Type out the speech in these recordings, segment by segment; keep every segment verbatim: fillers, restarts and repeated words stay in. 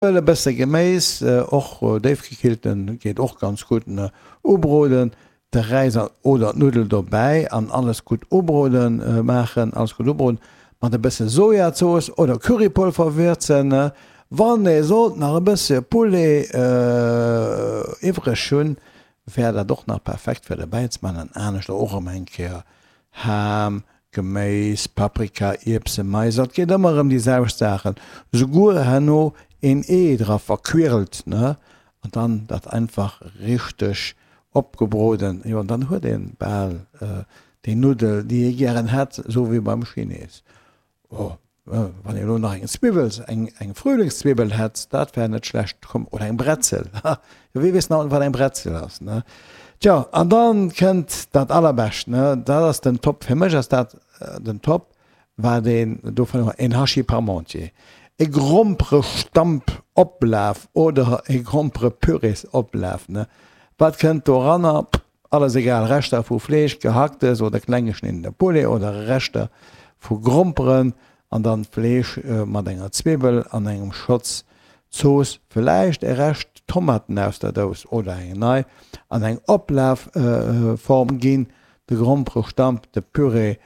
E bësse Geméis, och déifgekillten geet och ganz gutt, ubroden, de Räis oder d'Nuddel dobäi an alles gutt ubroden maachen, alles gutt ubroden, mat e bësse Sojazooss oder Currypolver würzen. Wann ee sollt nach e bësse Poulet iwwreg hunn, wär dat och nach perfekt fir dobäi ze maachen an aneschter och erëm eng Kéier Ham, Geméis, Paprika, Ierpsen, Mais, et geet ëmmer erëm déi selwecht Saachen, souguer herno een Ee dra verquirlt, ne, an dann dat einfach richteg opgebroden, jo, an dann huet een bal déi Nuddel, déi ee gären hätt, esou wéi beim Chines. Oh, wann een elo nach eng Zwiwwel, eng eng Frühlingszwiwwel hätt, dat wär net schlecht, komm, oder eng Bretzel, ha, jo, wie weess nach wat eng Bretzel ass, ne? Tjo, an dann kënnt dat allerbescht, ne, dat ass den Top, fir mech ass dat den Top, wat een dovun huet, een Hachis Parmentier, e Gromperestamp-Oplaf oder e Gromperepürées-Oplaf, ne? Wat kënnt doranner? Alles egal, Reschter vu Fleesch, Gehacktes oder kleng geschniddene Poulet oder Reschter vu Gromperen an dann d'Fleesch mat enger Zwiwwel an engem Schotz Zooss, villäicht e Rescht Tomaten aus der Dous oder eng nei, an eng Oplafform ginn, de Gromperestamp, de Püree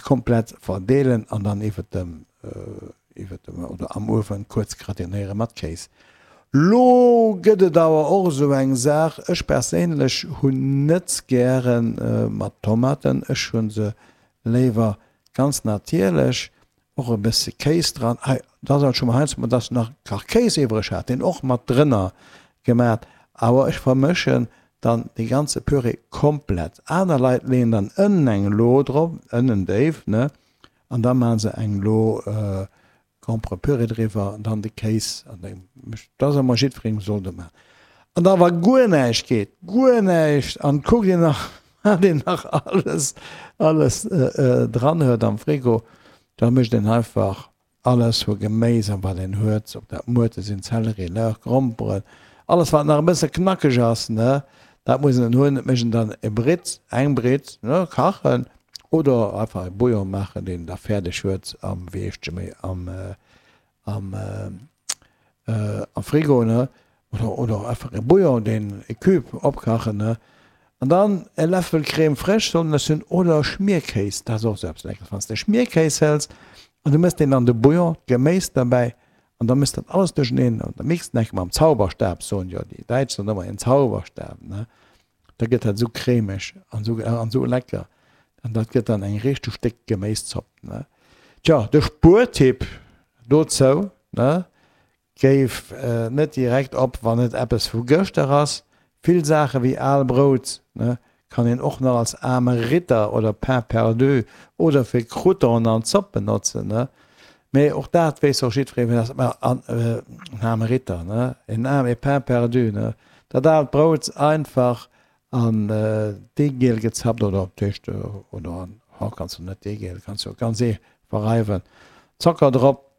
komplett verdeelen an dann iwwert dem iwwert dem oder am Uewen kuerz gratinéiere mat Kéis. Lo gëtt et awer och esou eng Saach, ech perséinlech hunn net gäre mat Tomaten, ech hu se léiwer ganz natierlech, och e bësse Kéis dran. Hei, dat ass alt scho mol heiansdo mol, dass nach Kachkéis iwwreg hat, deen och mat drënner gemat, awer ech vermëschen dann dee ganze Püree komplett. Aner Leit leeën dann ënnen eng Lo drop, ënnen déif, ne, an da maache se eng Lo Gromperepüree driwwer an dann de Kéis an da mécht. Dat ass ëmmer jiddwerengem soll dat maachen. An da wa guer näischt geet, guer näischt, an kuckt een nach wat een nach alles alles dran huet am Frigo, da mécht een einfach alles vu Geméis an wat een huet, ob dat Muerte sinn, Zelleri, Lauch, Gromperen, alles wat nach e bësse knackeg ass, ne, dat muss een hunn. Et mécht een dann e Britt, eng Britt, ne, kachen oder einfach e Bouillon maachen, deen een da fäerdeg huet am, wéi heescht se méi, am am am Frigo, ne, oder oder einfach e Bouillon, deen e Cube opkachen, ne, an dann e Läffel Crème fraîche soll en ech hunn oder Schmierkéis, dat ass och esou eppes Leckeres, wann s de Schmierkéis hëls an du mëss deen an de Bouillon, d'Geméis derbäi an da mëss dat alles duercheneen an da mixt en enke mam Zauberstab, soen jo déi Däitsch soen ëmmer en Zauberstab, ne, da gëtt dat esou cremeg an esou an esou lecker an dat gëtt dann eng richteg déck Geméiszopp, ne. Tjo, de Spuertipp dozou, ne, Géif net direkt op, wann et eppes vu gëschter ass. Vill Saache wéi al Brout, ne, kann een och nach als aarme Ritter oder Pain perdu oder fir Croutonen an Zopp benotzen, ne. Mee och dat weess och jiddweree, wéi dat ass. An en aarme Ritter, ne, en aarme, e Pain perdu, ne, dat aalt Brout einfach an Deegiel gezappt oder op d'Éischt oder an, oh, kanns du net Deegiel, kanns du ganz ee verreiwen, Zocker drop.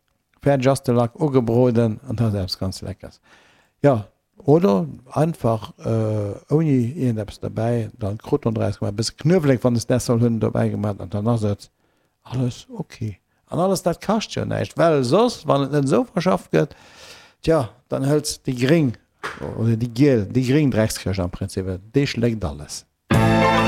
Fäerdeg ass de Lack ugebroden an dat ass eppes ganz Leckers. Jo, oder einfach ouni iergendeppes derbäi, dann Croûton draus gemaach, e bësse Knuewelek, wann s däers soll hunn, dobäi gemaach an dann ass et alles ok. An alles dat kascht jo näischt, well soss, wann et net esou verschafft gëtt, tja, dann hëls déi gréng oder déi giel, déi gréng Dreckskëscht am Prinzip, déi schléckt alles.